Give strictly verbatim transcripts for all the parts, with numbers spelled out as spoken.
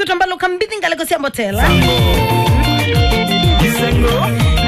Tũmbaluka mbithi ngalĩko sya mbotela.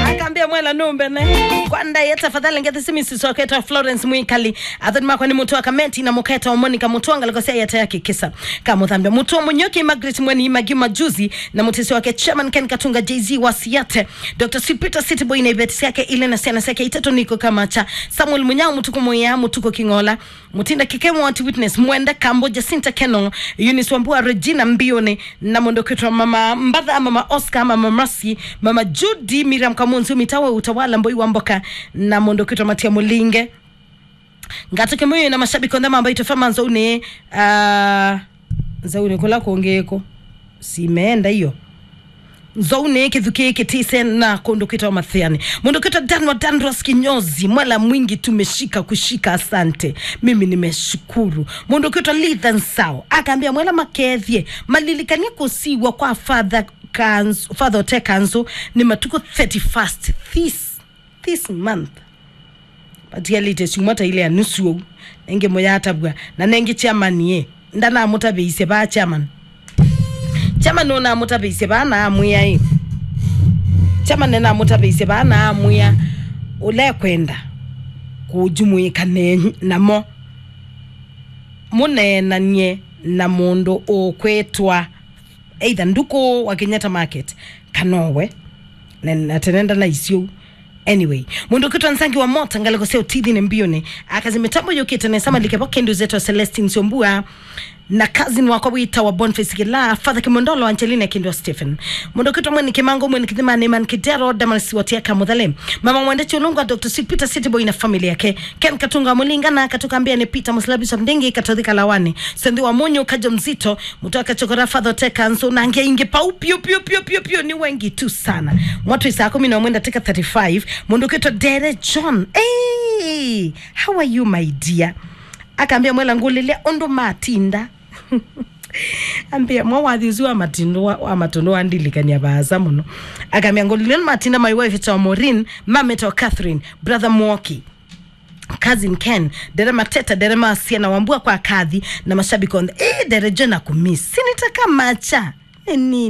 Akambia mwela numbene. Kwa ndaye tafadhali ngethe simi sisoketwa Florence Mwikali. Athoni makwa nĩ mũtũ wa Kameti na mũketa wa Monica mũtũ wa ngalĩko sya yata ya kĩkĩsa. Kamuthambia mũtũ wa Mũnyuki Margaret Mweni Magi Majuzi na mũtesi wake Chairman Ken Katunga J Z wa Siate. Doctor Sweet Peter City Boy na iveti syake ile na syana syake itatũ niko kama cha. Samuel Munyao Mũtuku Mũya Mũtuku King'ola. Mutinda Kikemo wa Witness, Mwenda Kambo, Jacinta Keno, Eunice Wambua, Regina Mbione, na mũndũ kwĩtwa Mama Mbatha, Mama Oscar, Mama Mercy, Mama Judy, Miriam Kamunzu, Mitawa Utawala, Mboi wa Mboka, na mũndũ kwĩtwa Matia Mulinge. Ngato kĩmwe na mashabiki onthe mambaitwe fama nzaunĩ, ah, nzaunĩ kũla kũngĩ ĩkũ. Simeenda iyo. Nzaunĩ kĩthukĩ kĩtise na kũndũ kwĩtawa Mathĩanĩ. Mũndũ kwĩtwa Dan wa Dandros Kinyozi, mwela mwingi tumeshika kushika, asante. Mimi nimeshukuru. Mũndũ kwĩtwa Lithan Sao, akambia mwela makethie, malilikanie kũsiw'a kwa Father Kanzu, Father Ote Kanzu, nĩ matukũ thirty-first. This this month. Patialĩte syumwa ta ile ya nusu ũu. Nengĩ mũyatavw'a. Na nengĩ chairman ĩ. Ndanamũtavĩisye vaa chairman. Chairman ũnamũtavĩisye vaa na amwĩa ĩ. Chairman nĩnamũtavĩisye vaa na amwĩa ũla ekwenda kũjumwĩka ne-, namo. Mũneenanie na mũndũ ũkwĩtwa either Nduku wa Kenyatta Market, kana owe. Na, na tene ndanaisye ũu. Anyway, mũndũ kwĩtwa Nzangi wa Mota, ngalĩko sya ũtithini mbioni. Akazi mĩtambo yũkĩte nesa malike vo kĩndũ zetwa Celestine Syombua. Na cousin wakwa wĩtawa Boniface Kĩla, Father Kimondolo, Angelina Kindwa Stephen. Mũndũ kwĩtwa Mweni Kimango, Mweni Kithimani, Man Kidero, Damaris Watiaka Muthale. Mama Mwende Chulungwa, Doctor Sweet Peter City Boy na family yake. Ken Katunga Mulinga na Katukambia ni Peter Musila Bishop Ndingi, Katothi Kalawani. Sendi wa Munyu, Kajo Mzito, Mũtaka Chokora, Father Ote Kanzu, na angĩ aingĩ pau, pio, pio, pio, pio, pio, nĩ wengi tu sana. Mwatũ saa kũmi na ũmwe ndatĩka thirty-five, mũndũ kwĩtwa Dere John. Hey, how are you, my dear? Akambia mwela ngũlĩlya ũndũ matinda. Ambia mwa wathi ũsu wa matindo wa, wa matondo wandilikania vaasa mũno. Akambia ngũlĩlya ũndũ matinda, my wife to Maureen, mameta Catherine, brother Mwoki. Cousin Ken, Dere Mateta, Dere Masia na Wambua kwa Kathi na mashabiki onthe. Eh, Dere John akumiss. Sinitaka macha. Nini?